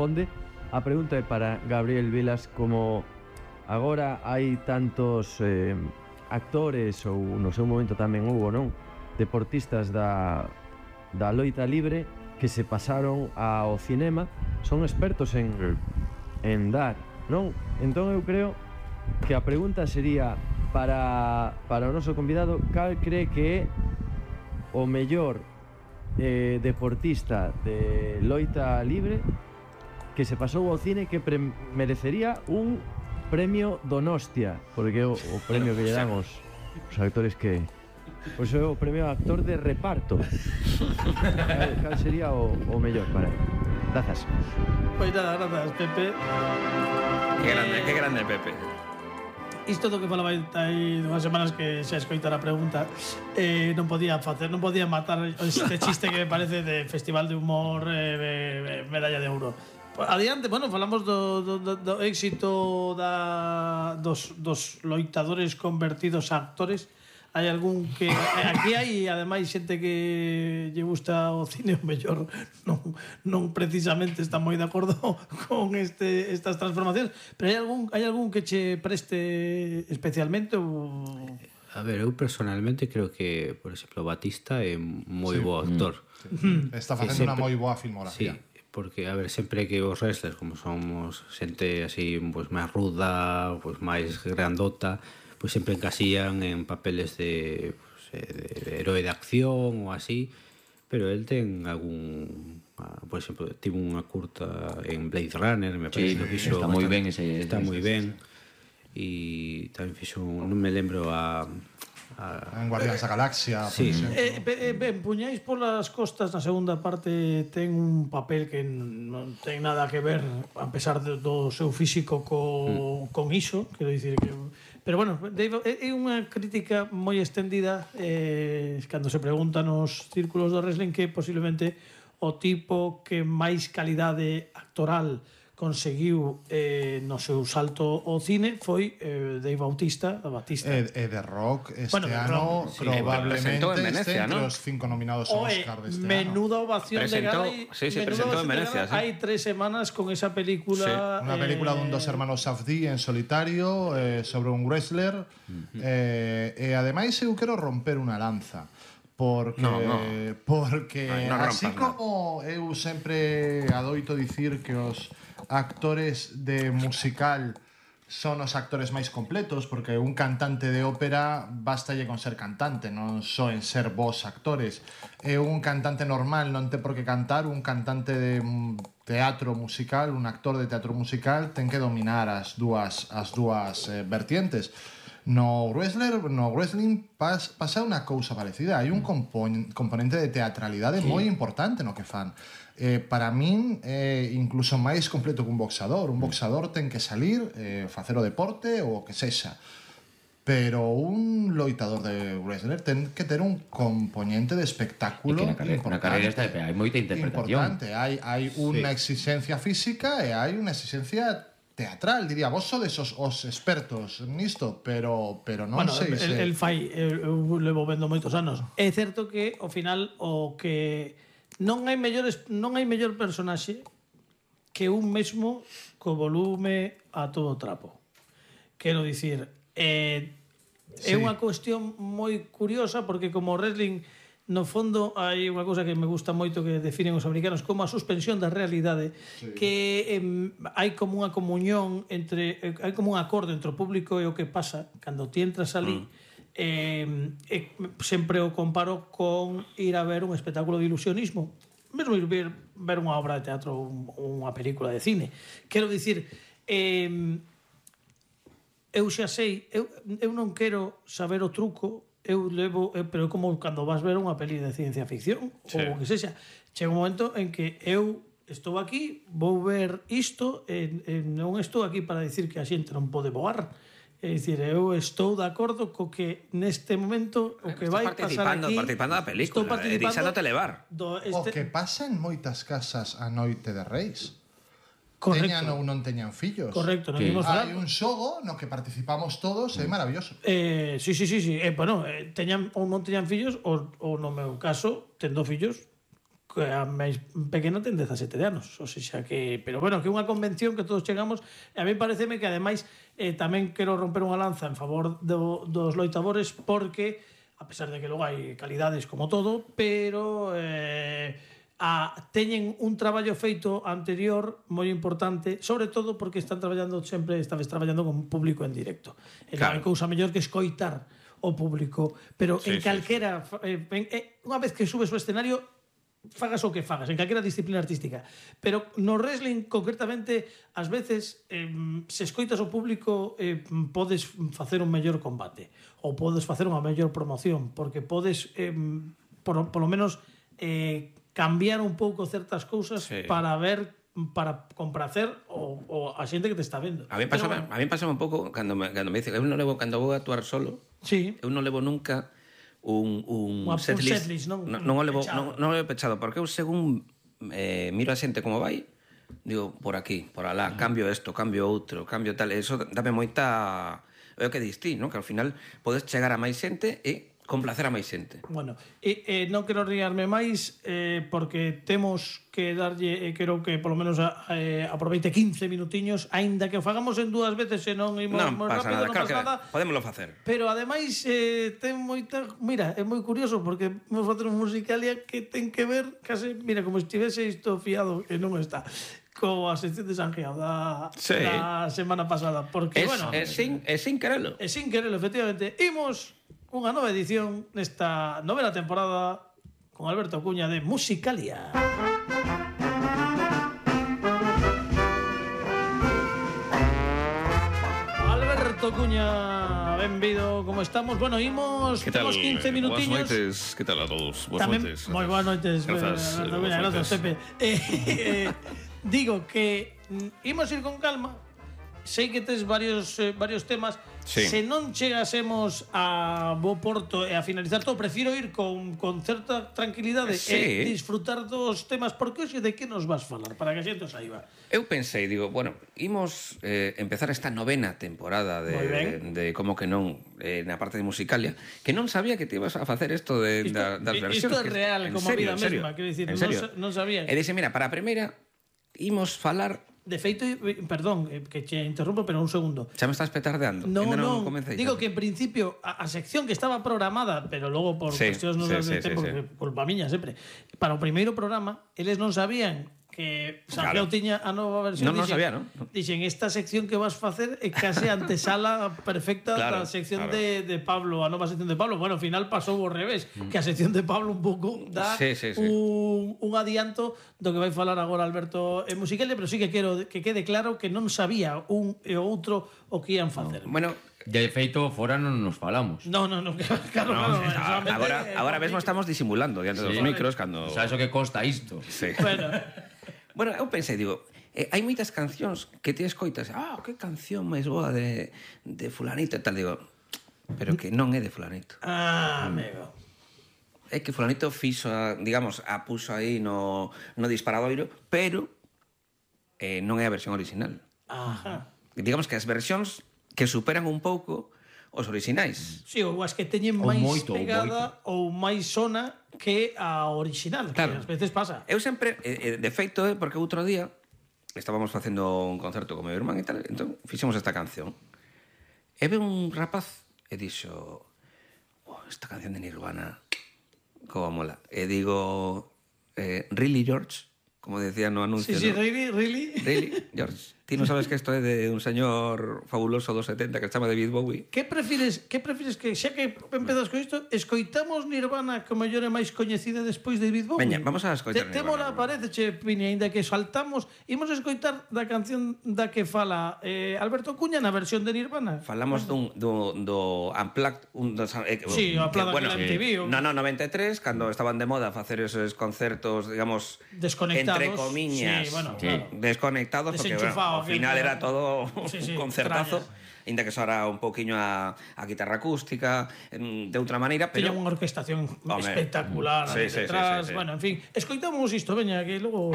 responde. A pregunta é para Gabriel Vilas, como agora hai tantos actores, ou no seu momento tamén houve, non? Deportistas da loita libre que se pasaron ao cinema, son expertos en dar, non? Entón eu creo que a pregunta sería para o noso convidado: cal cree que é o mellor deportista de loita libre que se pasou ao cine, que merecería un premio Donostia, porque o premio que lle dan os actores que... Pois é o premio actor de reparto. Cal sería o mellor para ele? Grazas. Pois nada, grazas, Pepe. Que grande Pepe. Isto do que falaba hai 2 semanas que xa escoitara a pregunta, non podía matar este chiste que me parece de Festival de Humor, medalla de ouro. Adiante, bueno, falamos do éxito dos loitadores convertidos a actores. Hai algún que... Aquí hai, ademais, xente que lle gusta o cine, o mellor non precisamente está moi de acordo con estas transformacións, pero hai algún que che preste especialmente ou... A ver, eu personalmente creo que, por exemplo, Batista é moi bo actor. Está facendo unha moi boa filmografía. Sí, porque, a ver, sempre que os wrestlers, como somos xente así, pues, máis ruda, pues, máis grandota, pues sempre encasían en papeles de héroe de acción ou así, pero el ten algún... Por exemplo, tivo unha curta en Blade Runner, me parece que fixo... Está moi ben ese... Está moi ben. E tamén fixo, non me lembro en Guardians da Galaxia, sí. Ben, Puñais polas costas na segunda parte ten un papel que non ten nada que ver, a pesar do seu físico con iso, quero dicir que... Pero bueno, Dave, é unha crítica moi extendida cando se pregunta nos círculos do wrestling que posiblemente o tipo que máis calidade actoral conseguiu no seu salto ao cine foi Dave Bautista. E The Rock este ano probablemente este entre os 5 nominados ao Oscar deste ano. Menuda ovación de gala. Sí, presentó en Venecia. Hai 3 semanas con esa película. Unha película dun dos hermanos Safdie en solitario sobre un wrestler. E ademais eu quero romper unha lanza. Porque así como eu sempre adoito dicir que os actores de musical son os actores máis completos, porque un cantante de ópera bastalle con ser cantante, non só en ser vos actores. E un cantante normal non ten por que cantar, un cantante de teatro musical, un actor de teatro musical ten que dominar as dúas vertientes. No wrestling pasa unha cousa parecida. Hai un componente de teatralidade moi importante no que fan. Para min é incluso máis completo que un boxador. Un boxador ten que salir, facer o deporte ou o que sexa. Pero un loitador de wrestler ten que ter un componente de espectáculo importante. Na carreira esta hai moita interpretación. Importante. Hai unha exigencia física e hai unha exigencia teatral, diría. Vos sodes os expertos nisto, pero non sei se... El fai, eu levo vendo moitos anos. É certo que, ao final, o que non hai mellor personaxe que un mesmo co volume a todo trapo. Quero dicir, é unha cuestión moi curiosa, porque como wrestling, no fondo, hai unha cousa que me gusta moito que definen os americanos como a suspensión da realidade, que hai como unha comunión hai como un acordo entre o público e o que pasa cando ti entras ali. Sempre o comparo con ir a ver un espectáculo de ilusionismo, mesmo ir ver unha obra de teatro ou unha película de cine. Quero dicir, eu xa sei, eu non quero saber o truco. Eu levo, pero como cando vas ver unha peli de ciencia ficción ou o que sexa, chega un momento en que eu estou aquí, vou ver isto e non estou aquí para dicir que a xente non pode voar. É dicir, eu estou de acordo co que neste momento o que vai pasar aquí, participando da película, deixándote levar. O que pasa en moitas casas a noite de Reis. Correcto. Teñan ou non teñan fillos. Correcto, non imos falar. Hai un xogo no que participamos todos, é maravilloso. Sí. Bueno, teñan ou non teñan fillos, ou no meu caso, tendo fillos, que a máis pequena ten 17 anos, ou seja que, pero bueno, que é unha convención que todos chegamos, e a mí pareceme que ademais tamén quero romper unha lanza en favor dos loitadores, porque a pesar de que logo hai calidades como todo, pero teñen un traballo feito anterior moi importante, sobre todo porque están traballando sempre, estabes traballando con público en directo. Non hai cousa mellor que escoitar o público, pero en calquera unha vez que subes ao escenario fagas o que fagas, en calquera disciplina artística, pero no wrestling concretamente ás veces se escoitas o público podes facer un mellor combate ou podes facer unha mellor promoción, porque podes polo menos cambiar un pouco certas cousas para ver, para compracer o a xente que te está vendo. A mí pasa un pouco cando me dice, eu non levo, cando vou a actuar solo, eu non levo nunca un setlist, non o levo pechado, porque eu según miro a xente como vai, digo, por aquí, por alá, cambio isto, cambio outro, cambio tal, eso dame moita, é o que distí, non? Que ao final podes chegar a máis xente e complacer a máis xente. Bueno, non quero riarme máis porque temos que darlle, quero que polo menos aproveite 15 minutiños, aínda que o fagamos en dúas veces e non imos moi rápido, non pasa nada. Podémoslo facer. Pero ademais ten moita, mira, é moi curioso porque vamos facer un musicalia que ten que ver case, mira, como estivese isto fiado, que non está, coa sección de Sanjeao da semana pasada, porque bueno, é sin querelo. É sin querelo, efectivamente. Imos unha nova edición nesta novena temporada con Alberto Cuña de Musicalia. Alberto Cuña, benvido, como estamos? Bueno, imos, temos 15 minutiños. Boas noites, que tal a todos? Boas noites. Moi boas noites, gracias, Pepe. Digo que imos ir con calma. Sei que tes varios temas. Se non chegásemos a bo porto e a finalizar todo, prefiro ir con certa tranquilidade e disfrutar dos temas, porque hoxe de que nos vas falar, para que a xente saiba. Eu pensei, digo, bueno, imos empezar esta novena temporada de Como que non, na parte de Musicalia, que non sabía que te ibas a facer isto das versións. Isto é real, como a vida mesma, quero dicir, non sabía. E dixe, mira, para a primeira imos falar. De feito, perdón, que te interrumpo, pero un segundo. Xa me estás petardeando. Non, digo que en principio a sección que estaba programada, pero logo por cuestións non de tempo, culpa miña sempre, para o primeiro programa, eles non sabían que Sanjeao tiña a nova versión. Non sabía, non? Dixen, esta sección que vas facer é case antesala perfecta da sección de Pablo, a nova sección de Pablo. Bueno, ao final pasou ao revés, que a sección de Pablo un pouco dá un adianto do que vai falar agora Alberto en Musicalia, pero sí que quero que quede claro que non sabía un e o outro o que ian facer. Bueno, de feito, fora non nos falamos. No, claro. Agora mesmo estamos disimulando diante dos micros cando... Sabes o que costa isto? Sí. Bueno, eu pensei, digo, hai moitas cancións que te escoitas, que canción máis boa de fulanito e tal, digo, pero que non é de fulanito. Amigo. É que fulanito fixo, digamos, a puxo aí no disparadoiro, pero non é a versión original. Digamos que as versións que superan un pouco os orixinais. Sí, ou as que teñen máis pegada ou máis sona que a original, que ás veces pasa. Eu sempre, de feito, porque outro día estábamos facendo un concerto con meu irmán e tal, entón fixemos esta canción. E ve un rapaz e dixo, esta canción de Nirvana, como mola. E digo, really, George? Como decía no anuncio. Sí, really, George. Ti non sabes que isto é de un señor fabuloso dos 70 que se chama David Bowie. Que prefires que xa que empezas con isto, escoitamos Nirvana que mellor é máis coñecida despois de David Bowie? Veña, vamos a escoitar Nirvana. Témola, parece, Pini, ainda que saltamos, imos escoitar da canción da que fala Alberto Cuña na versión de Nirvana. Falamos do Unplugged, sí, o Unplugged bueno, MTV. No, 93, cando estaban de moda facer esos concertos, digamos, desconectados, entre comiñas, sí, bueno, claro, desconectados, porque bueno, ao final era todo un concertazo, ainda que soara un pouquiño a guitarra acústica de outra maneira, pero tiña unha orquestación espectacular detrás, bueno, en fin, escoitamos isto, veña, que logo